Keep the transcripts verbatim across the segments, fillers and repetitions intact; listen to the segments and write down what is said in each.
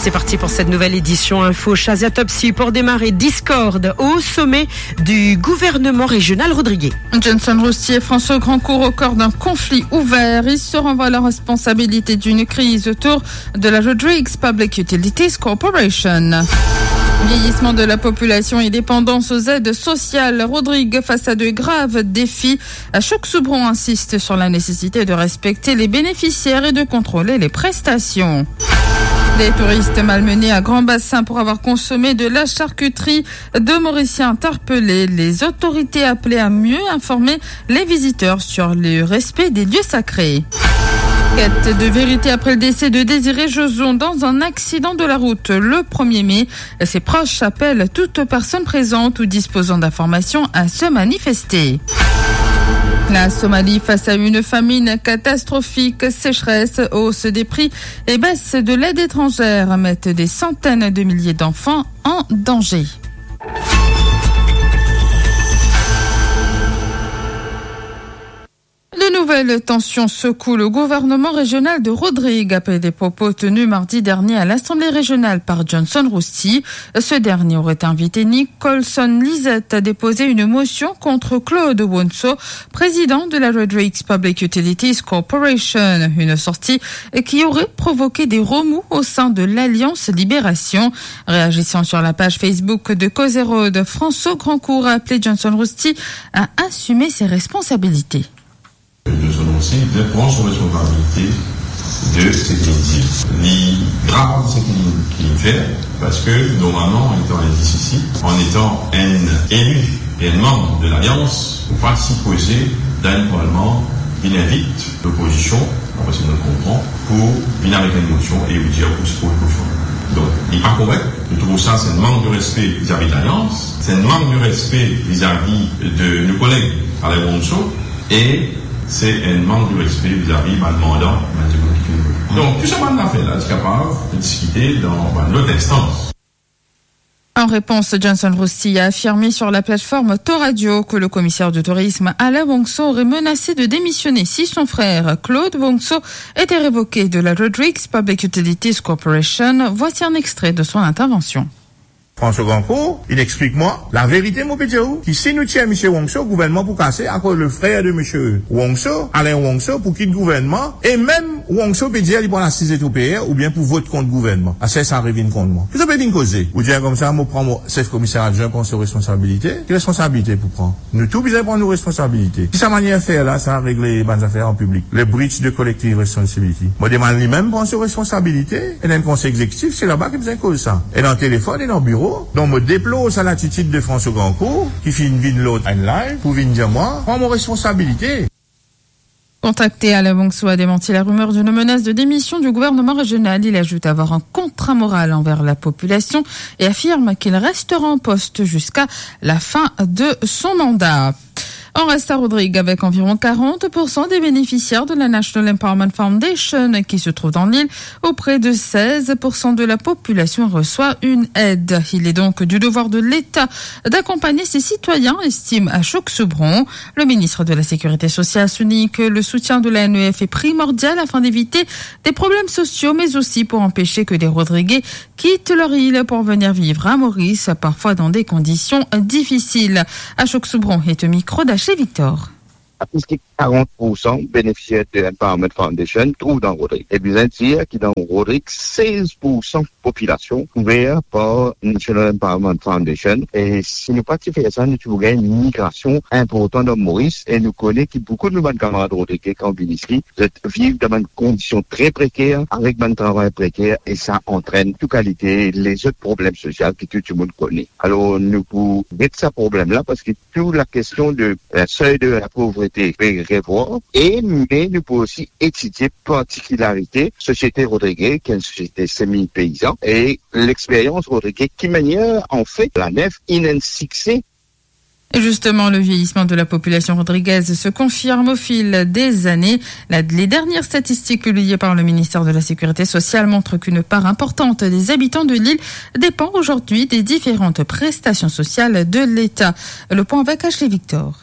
C'est parti pour cette nouvelle édition Info. Shazia Topsy pour démarrer. Discorde au sommet du gouvernement régional rodriguais. Johnson Rostier et François Grandcourt au cœur d'un conflit ouvert. Ils se renvoient la responsabilité d'une crise autour de la Rodrigues Public Utilities Corporation. Vieillissement de la population et dépendance aux aides sociales. Rodrigues face à de graves défis. Ashok Soubron insiste sur la nécessité de respecter les bénéficiaires et de contrôler les prestations. Des touristes malmenés à Grand Bassin pour avoir consommé de la charcuterie. Deux Mauriciens interpellés. Les autorités appelées à mieux informer les visiteurs sur le respect des lieux sacrés. Quête de vérité après le décès de Désiré Joson dans un accident de la route le premier mai. Ses proches appellent toute personne présente ou disposant d'informations à se manifester. La Somalie face à une famine catastrophique, sécheresse, hausse des prix et baisse de l'aide étrangère mettent des centaines de milliers d'enfants en danger. De nouvelles tensions secouent le gouvernement régional de Rodrigues après des propos tenus mardi dernier à l'Assemblée régionale par Johnson Rostier. Ce dernier aurait invité Nicholson Lisette à déposer une motion contre Claude Wonso, président de la Rodrigues Public Utilities Corporation. Une sortie qui aurait provoqué des remous au sein de l'Alliance Libération. Réagissant sur la page Facebook de Causerodes, François Grandcourt a appelé Johnson Rostier à assumer ses responsabilités. Johnson Rostier, li pran so responsabilite de seki li dir. Li grav seki li, ki li fer, parski normalman, an etan enn dis isi, an etan enn eli e enn manm de Lalians, ou pa sipoze, dan enn parlman, vinn invit lopozision, dapre seki nou konpran, pou vinn avek enn mosion e ou dir pou, pou, pou chanz. Donk, li pa korek. Nou trouv sa, se enn mank de respe vizavi de Lalians, se enn mank de respe vizavi de nou koleg Alain Wonso, e se enn mank de respe vizavi bann mandan, bann dimoun ki finn vote. Donk, tou sa bann zafer la, ti kapav diskite dan bann lot instans. En réponse, Johnson Rostier a affirmé sur la plateforme Tour Radio que le commissaire du tourisme Alain Wonso aurait menacé de démissionner si son frère Claude Wonso était révoqué de la Rodrigues Public Utilities Corporation. Voici un extrait de son intervention. François Grandcourt, li explik mwa, laverite mo pe dir ou, ki si nou tir misie Wonso, gouvernman pou kase, akoz le frer de misie Wonso, Alain Wonso, pou kit gouvernman, e mem Wonso pe dir li pou al asiz etreper oubien pou vot kont gouvernman. Aster sa revinn kont mwa. Ki zot pe vinn koze? Ou dir koumsa, mo pran mo sef komiser adwin pran so responsabilite? Ki responsabilite pou pran? Nou tou bizin pran nou responsabilite. Ki sa manier fer la, sa regle bann zafer an piblik. Le breach de collective responsibility. Mo demann li mem pran so responsabilite, e dan konsey exekitif, se laba ki bizin koz sa. E dan telefonn, e dan biro. Donk, mo deplor sa latitid de François Grandcourt, ki finn vinn lor enn live, pou vinn dir mwa, pran mo responsabilite. Contacté, Alain Wonso a démenti la rumeur d'une menace de démission du gouvernement régional. Il ajoute avoir un contrat moral envers la population et affirme qu'il restera en poste jusqu'à la fin de son mandat. On reste à Rodrigues avec environ quarante pour cent des bénéficiaires de la National Empowerment Foundation qui se trouvent dans l'île, où près de seize pour cent de la population reçoit une aide. Il est donc du devoir de l'État d'accompagner ses citoyens, estime Ashok Soubron. Le ministre de la Sécurité sociale souligne que le soutien de la N E F est primordial afin d'éviter des problèmes sociaux, mais aussi pour empêcher que des Rodriguais quittent leur île pour venir vivre à Maurice, parfois dans des conditions difficiles. Ashok Soubron est au micro d'Ashley Victor. Plis ki karant pour san benefisier de Empowerment Foundation trouv dan Rodrigues. E bizin dir ki dan Rodrigues, sez pour san popilasion kouver par National Empowerment Foundation. E si nou pa ti fer sa, nou ti pou gagn enn migrasion inportan dan Moris. E nou kone ki boukou de nou bann kamarad Rodrigues, kan vinn isi, zot viv dan bann kondision tre preker, avek bann travay preker, e sa antrenn tou kalite lezot problem sosial ki tou dimoun kone. Alor, nou pou get sa problem la, parski tou lakestion de, euh, seuil de la pauvreté pe revwar, e, me nou pou osi etidie partikilarite sosiete Rodrigues, ki enn sosiete semi peizan, e lexperyans Rodrigues, ki manier, anfet, la N E F inn enn sikse. Et justement, le vieillissement de la population rodriguaise se confirme au fil des années. La, les dernières statistiques publiées par le ministère de la Sécurité sociale montrent qu'une part importante des habitants de l'île dépend aujourd'hui des différentes prestations sociales de l'État. Le point avec Ashley Victor.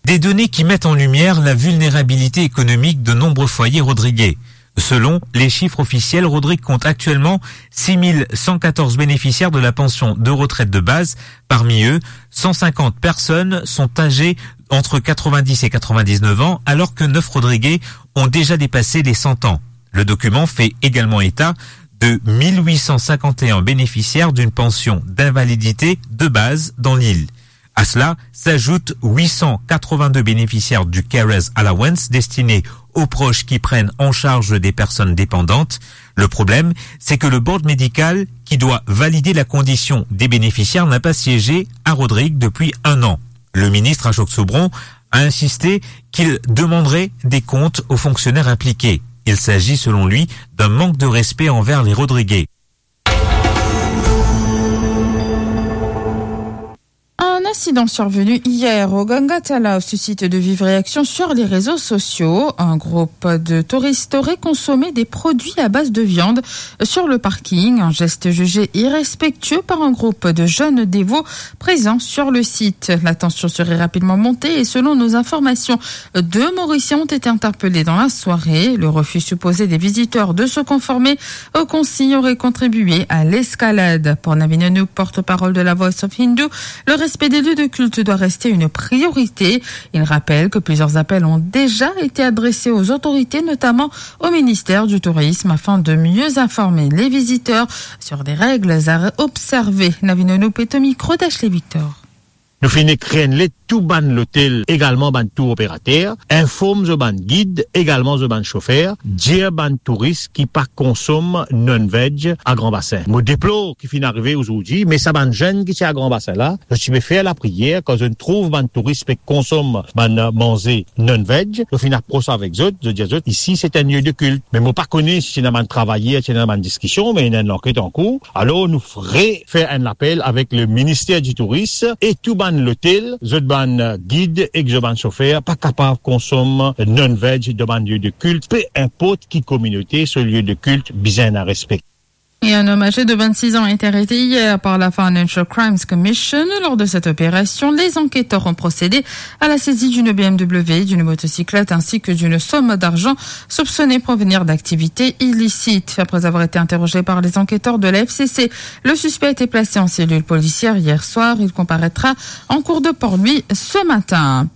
Des données qui mettent en lumière la vulnérabilité économique de nombreux foyers rodriguais. Selon les chiffres officiels, Rodrigue compte actuellement six mille cent quatorze bénéficiaires de la pension de retraite de base. Parmi eux, cent cinquante personnes sont âgées entre quatre-vingt-dix et quatre-vingt-dix-neuf ans, alors que neuf Rodriguais ont déjà dépassé les cent ans. Le document fait également état de mille huit cent cinquante et un bénéficiaires d'une pension d'invalidité de base dans l'île. À cela s'ajoutent huit cent quatre-vingt-deux bénéficiaires du Carers Allowance destiné aux proches qui prennent en charge des personnes dépendantes. Le problème, c'est que le board médical qui doit valider la condition des bénéficiaires n'a pas siégé à Rodrigue depuis un an. Le ministre Ashok Sobron a insisté qu'il demanderait des comptes aux fonctionnaires impliqués. Il s'agit, selon lui, d'un manque de respect envers les Rodriguais. Un incident survenu hier au Ganga Talao suscite de vives réactions sur les réseaux sociaux. Un groupe de touristes aurait consommé des produits à base de viande sur le parking, un geste jugé irrespectueux par un groupe de jeunes dévots présents sur le site. La tension serait rapidement montée et, selon nos informations, deux Mauriciens ont été interpellés dans la soirée. Le refus supposé des visiteurs de se conformer aux consignes aurait contribué à l'escalade. Pour Navin Anoup, porte-parole de la Voice of Hindu, le respect des lieux de culte doit rester une priorité. Il rappelle que plusieurs appels ont déjà été adressés aux autorités, notamment au ministère du Tourisme, afin de mieux informer les visiteurs sur des règles à observer. Navin Anoup est au micro d'Ashley Victor. Nou finn ekrir enn let tou bann lotel, egalman bann tour operater, inform zot bann gid, egalman zot bann sofer, dir bann touris ki pa konsom non-veg a Gran Basin. Mo deplor ki finn arive ozordi, me sa bann zenn ki ti a Gran Basin la, zot ti pe fer lapriyer, kan zot trouv bann touris pe konsom bann, eh, manze non-veg, zot finn apros avek zot, zot dir zot, isi se enn lie de kilt. Me mo pa kone si ti ena bann travayer, ti ena bann diskision, me ena enn lanket ankour. Alor, nou refer enn lapel avek le Minister di Touris e tou bann lotel, zot bann gid ek zot bann sofer pa kapav konsom non-veg dan bann lie de kilt, pe inport ki kominote, so lie de kilt bizin ena respe. Et un homme âgé de vingt-six ans a été arrêté hier par la Financial Crimes Commission. Lors de cette opération, les enquêteurs ont procédé à la saisie d'une B M W, d'une motocyclette ainsi que d'une somme d'argent soupçonnée provenir d'activités illicites. Après avoir été interrogé par les enquêteurs de la F C C, le suspect a été placé en cellule policière hier soir. Il comparaîtra en cours de Port-Louis ce matin.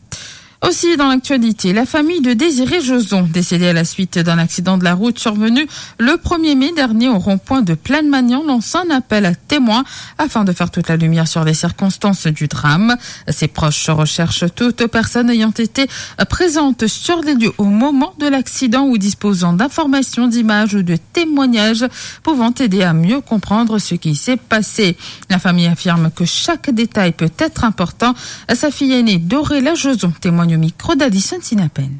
Aussi dans l'actualité, la famille de Désiré Joson, décédé à la suite d'un accident de la route survenu le premier mai dernier au rond-point de Plaine-Magnan, lance un appel à témoins afin de faire toute la lumière sur les circonstances du drame. Ses proches recherchent toute personne ayant été présente sur les lieux au moment de l'accident ou disposant d'informations, d'images ou de témoignages pouvant aider à mieux comprendre ce qui s'est passé. La famille affirme que chaque détail peut être important. Sa fille aînée, Dorela Joson, témoigne au micro d'Alison Sinapen.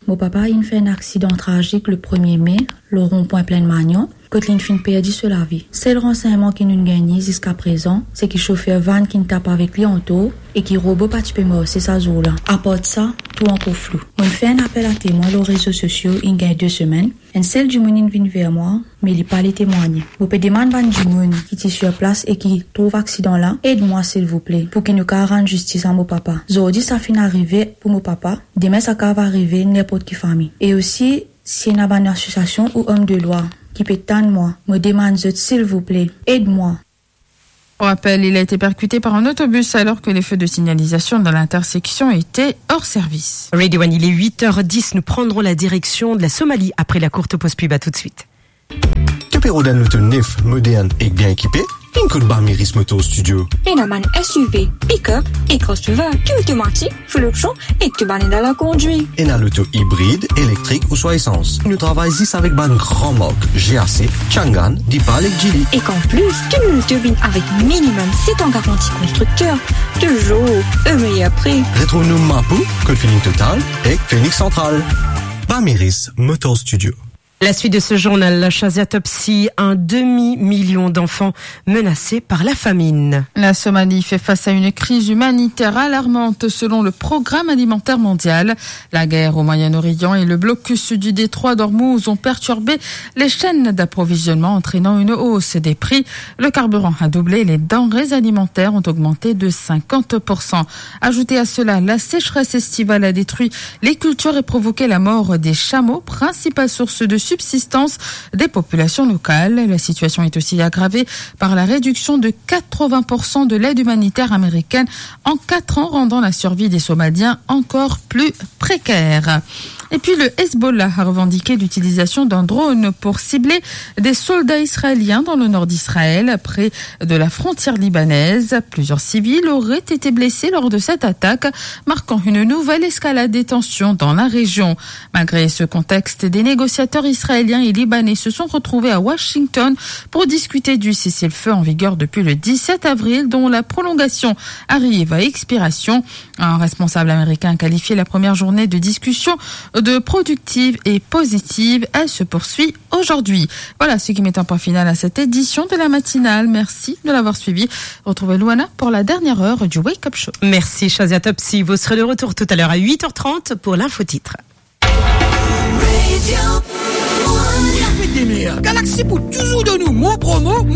Mo papa inn fer enn aksidan trazik le premie me, lor ron-pwin Plaine-Magnan, kot linn finn perdi so lavi. Sel ransegnman ki nounn gagne ziska prezan, se ki sofer vann ki'nn tap avek li antor e ki robo pa ti pe marse sa zour la. Apar sa, tou ankor flou. Mo'nn fer enn apel a temwin lor rezo sosio inn gagn de semenn. Enn sel dimoun inn vinn ver mwa, me li pa le temwagne. Mo pe demann bann dimoun ki ti sir plas e ki trouv aksidan la, ed mwa silvouple, pou ki nou kapav rann zistis a mo papa. Zordi sa finn arive pou mo papa, demin sa kapav arive ninport ki fami. E osi, si ena bann asosiasion ou om de lwa ki pe tann mwa, mo demann zot silvouple, ed mwa. Pour rappel, il a été percuté par un autobus alors que les feux de signalisation dans l'intersection étaient hors service. Radio One, il est huit heures dix. Nous prendrons la direction de la Somalie après la courte pause pub. À tout de suite. To pe rod enn loto nef, modern ek bien ekipe? Vinn kot Bamiris Motor Studio. Ena bann S U V, pick-up e crossover, tou otomatik, full option, e tou bann ena la kondwir. Ena loto ibrid, elektrik ouswa esans. Nou travay zis avek bann gran mark, G A C, Changan, Deepal ek Geely. Ek anplis, tou nou loto vinn avek minimum set an garanti konstrikter, touzour o meyer pri. Retrouv nou Mapou, kot Feeling Total ek Phoenix Central. Bamiris Motor Studio. La suite de ce journal, la Shazia Topsy, un demi-million d'enfants menacés par la famine. La Somalie fait face à une crise humanitaire alarmante selon le Programme alimentaire mondial. La guerre au Moyen-Orient et le blocus du détroit d'Ormuz ont perturbé les chaînes d'approvisionnement, entraînant une hausse des prix. Le carburant a doublé, les denrées alimentaires ont augmenté de cinquante pour cent. Ajoutez à cela, la sécheresse estivale a détruit les cultures et provoqué la mort des chameaux, principale source de subsistance des populations locales. La situation est aussi aggravée par la réduction de quatre-vingts pour cent de l'aide humanitaire américaine en quatre ans, rendant la survie des Somaliens encore plus précaire. Et puis le Hezbollah a revendiqué l'utilisation d'un drone pour cibler des soldats israéliens dans le nord d'Israël, près de la frontière libanaise. Plusieurs civils auraient été blessés lors de cette attaque, marquant une nouvelle escalade des tensions dans la région. Malgré ce contexte, des négociateurs israéliens et libanais se sont retrouvés à Washington pour discuter du cessez-le-feu en vigueur depuis le dix-sept avril, dont la prolongation arrive à expiration. Un responsable américain a qualifié la première journée de discussion de productive et positive. Elle se poursuit aujourd'hui. Voilà ce qui met un point final à cette édition de la matinale. Merci de l'avoir suivi. Retrouvez Luana pour la dernière heure du Wake Up Show. Merci, Shazia Topsy. Vous serez de retour tout à l'heure à huit heures trente pour l'info titre. Fête des mères, Galaxy pou touzour donn ou mo promo,